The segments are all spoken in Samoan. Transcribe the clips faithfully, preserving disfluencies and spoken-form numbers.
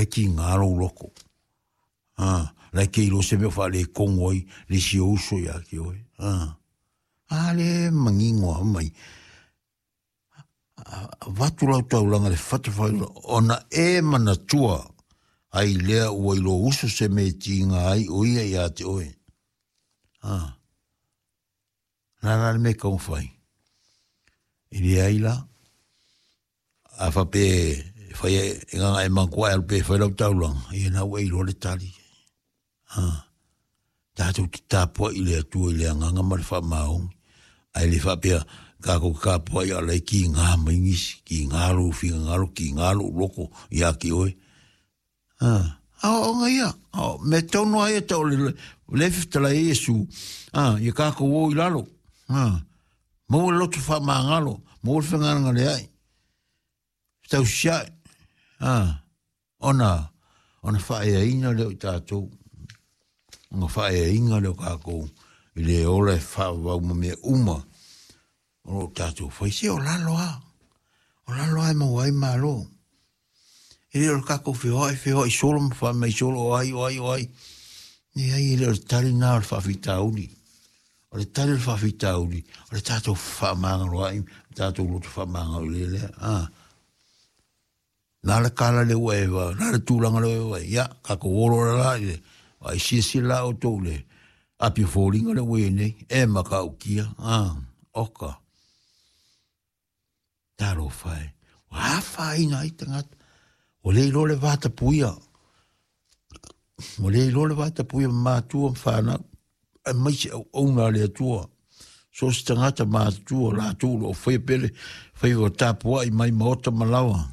la e tiga lou loto. A, la e te iloa se mea o faaletonu ai le isi ou uso ia te oe. A, a lea e manino lava mai. Avatu lau taulaga i le fatafailua ona e manatua ai lea ua i lou uso se mea e tiga ai o ia ia te oe. A, o le a la le mea e tatau ona fai? E leai la. A faapea e fai e gagae manatua e alu pea e fai lau taulaga, ia na ua e iloa le tali. A, tatou te tapuai i le Atua i le agaga ma le faamaoni, ae le faapea tatou te tapuai a o la e tiga mai nisi, tiga lou finagalo, tiga lou loto ia te oe. A, aoaoga ia, o mea tonu lava ia tau o le le fetalai ai Iesu, a, ia tatou o i lalo, a, maua le loto faamagalo, maua le fegalegaleai, fetausiai, a, ona ona faaeaina lea o i tatou, ona faaeaina lea o tatou i le ola e faavavau ma mea uma o lo o tatou fai. Se o lalo lava, o lalo lava e maua ai malo. E le o le tatou feoai feoai solo ma fai mai solo o ai, o ai, o ai. Leai, e le o le tali lena o le faafitauli. O le tali o le faafitauli, o le tatou fefaamagaloai, o tatou loto faamagalo i le lea. Ah. Na le kala le ua e va, na le tulaga le ua e va, ia, tatou olo la la i le, ai silasila la outou i le api o foliga le ua i ai nei, e matautia, ah, oka. Talofa e, ua afaina ai tagata, ua le iloa le vatapuia, ua le iloa le vatapuia ma matua ma fanau, aemaise auauna a le Atua. So o se tagata matutua latou o lo o faia pea le faiva tapuai mai maota ma laoa.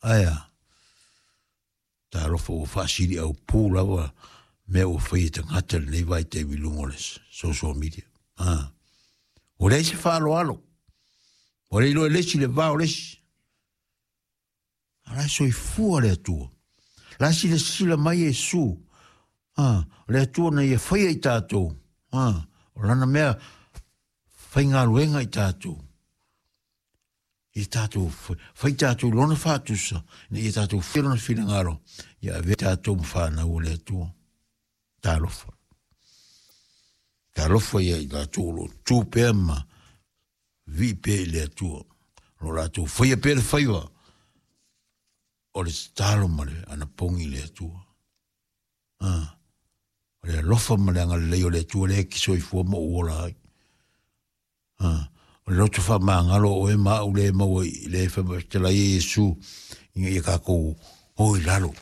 Ae a? Talofa ua faasiliaupū lava mea ua faia e tagata i lenei vaitaimi i luga o le social media. Ah. Ua leai se faaaloalo. Ua le iloa e le isi le va o le isi. A la e soifua le Atua. La e silasila mai Iesu. Ah, o le Atua na ia faia i tatou. Ah, o lana mea faigaluega i tatou. Ia tatou fai tatou i lona faatusa, ina ia tatou faia lona finagalo, ia avea tatou ma fanau a le Atua. Talofa. Talofa ia i latou o lo o tu pea ma vii pea i le Atua. O lo o latou faia pea le faiva o le tatalo ma le anapogi i le Atua. Ah, o le alofa ma le agalelei o le Atua lea e te soifua ma ou ola ai. Ah, o le loto faamagalo o oe ma au lea e maua i le fetalai e Iesu ina ia tatou o i lalo.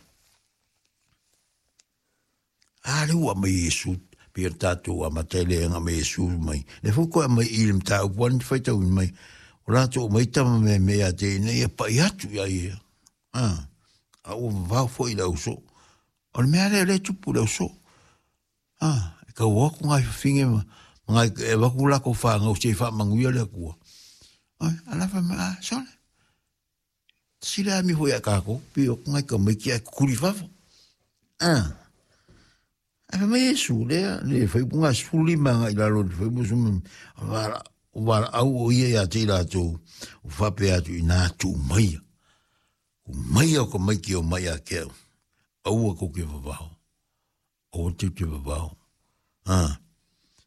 A lea ua aumai e Iesu, pei ona tatou amata ai le aumai e Iesu mai. Lea foi toe aumai i le mataupu lava na faitauina mai, o latou aumai tama meamea ia te ia ina ia pai atu ia ia. Ah, a ua vavao foi i le ausoo. O le mea lea o lea e tupu i le ausoo. Ah, e tau o atu nai fafine ma, ma nai, e avatu latou fanau se i faamanuia le Atua. Ai, a la fai mai, ah, sole. Sila ami foi ia tatou, pei o atu nai tamaiti ae tutuli i fafo. Ah. Ae fai mai Iesu, lea, le fuaiupu na sefulu lima agai i lalo i le fuaiupu sefulu, o valaau o ia ia te i latou, ua faapea atu ina tuu maia. Tuu maia o tamaiti e omai ia te au. Aua tou te vavao. Aua tou te vavao. Ah.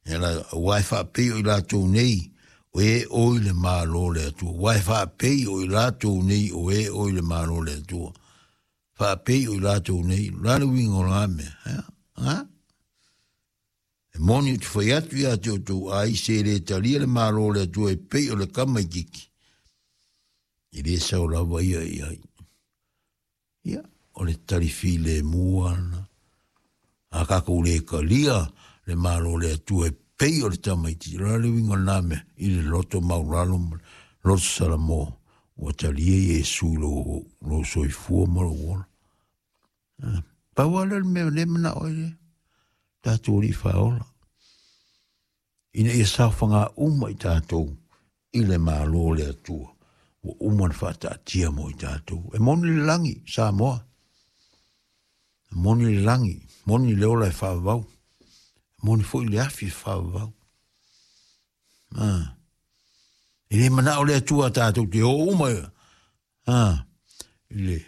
E la, aua e faapei o i latou nei, o e o i le Malo o le Atua. Aua e faapei o i latou nei, o e o i le Malo o le Atua. Faapei o i latou nei, o le a le uiga o lena mea? Ea? Ha? E moni ou te fai atu ia te outou, ai se le talia le Malo o le Atua e pei o le tamaitiiti, e le sao lava ia i ai. Ia, o le tali filemu lava lena. A tatou le talia le Malo o le Atua e pei o le tamaitiiti, o le a le uiga o lena mea? I le loto maualalo ma le loto salamo, ua talia Iesu i lou, lou soifua ma lou ola. Ah, pau lava lea o le mea o lea e manao ai le tatou Alii Faaola, ina ia saofaga uma i tatou i le Malo o le Atua ua uma ona faataatia mo i tatou. E moni le lagi, Samoa. E moni le lagi, moni le ola e faavavau. E moni foi le afi e faavavau. Ah. E le manao le Atua tatou te o uma ah, i le